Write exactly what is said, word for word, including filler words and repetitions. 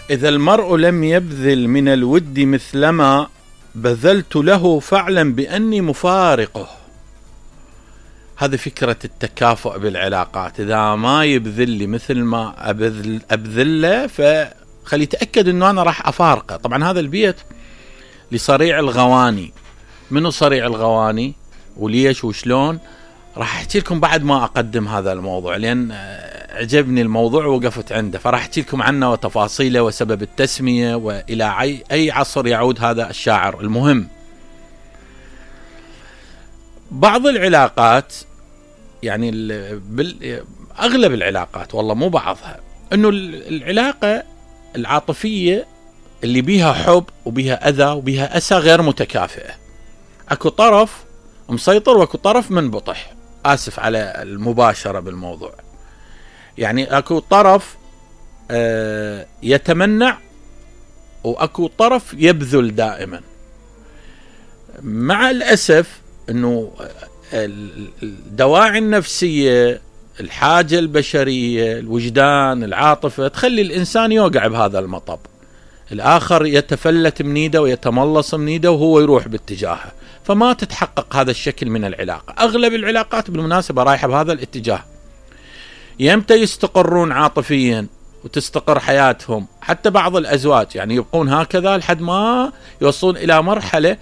إذا المرء لم يبذل من الود مثلما بذلت له فاعلم بأني مفارقه. هذه فكرة التكافؤ بالعلاقات. إذا ما يبذل لي مثل ما أبذل, أبذل له فخلي يتأكد أنه أنا راح أفارقه. طبعا هذا البيت لصريع الغواني. منو صريع الغواني وليش وشلون راح أحكي لكم بعد ما أقدم هذا الموضوع، لأن عجبني الموضوع ووقفت عنده، فراح أحكي لكم عنه وتفاصيله وسبب التسمية وإلى أي عصر يعود هذا الشاعر. المهم بعض العلاقات، يعني أغلب العلاقات والله مو بعضها، أنه العلاقة العاطفية اللي بيها حب وبيها أذى وبيها أسى غير متكافئة. أكو طرف مسيطر واكو طرف منبطح. آسف على المباشرة بالموضوع. يعني أكو طرف آه يتمنع وأكو طرف يبذل دائما. مع الأسف أنه الدواعي النفسية، الحاجة البشرية، الوجدان، العاطفة تخلي الإنسان يوقع بهذا المطب. الآخر يتفلت منيده ويتملص منيده وهو يروح باتجاهه، فما تتحقق هذا الشكل من العلاقة. أغلب العلاقات بالمناسبة رايحة بهذا الاتجاه. يمتى يستقرون عاطفيا وتستقر حياتهم؟ حتى بعض الأزواج يعني يبقون هكذا لحد ما يوصلون إلى مرحلة